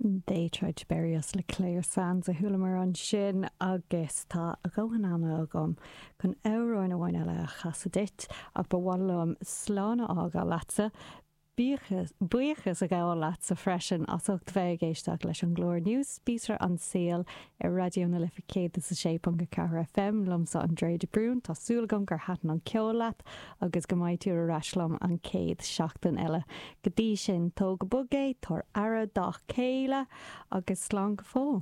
They Tried to Bury Us le Clare Sands a chualamar ansin agus tá a dhóthain ama agam chun amhrán amháin eile a chasadh duit ach ba mhaith liom slán a fhágáil leatsa. Buíochas a ghabháil leatsa freisin as ucht bheith ag éisteacht leis an gclár nua Spíosra an Saoil ar Raidió na Life 106.4 FM, liomsa Andrea de Brún. Tá súil agam gur thaitin an ceol leat agus go mbeidh tú ar ais liom an chéad seachtain eile. Go dtí sin, tóg go bog é, tabhair aire dá chéile agus slán go fóill.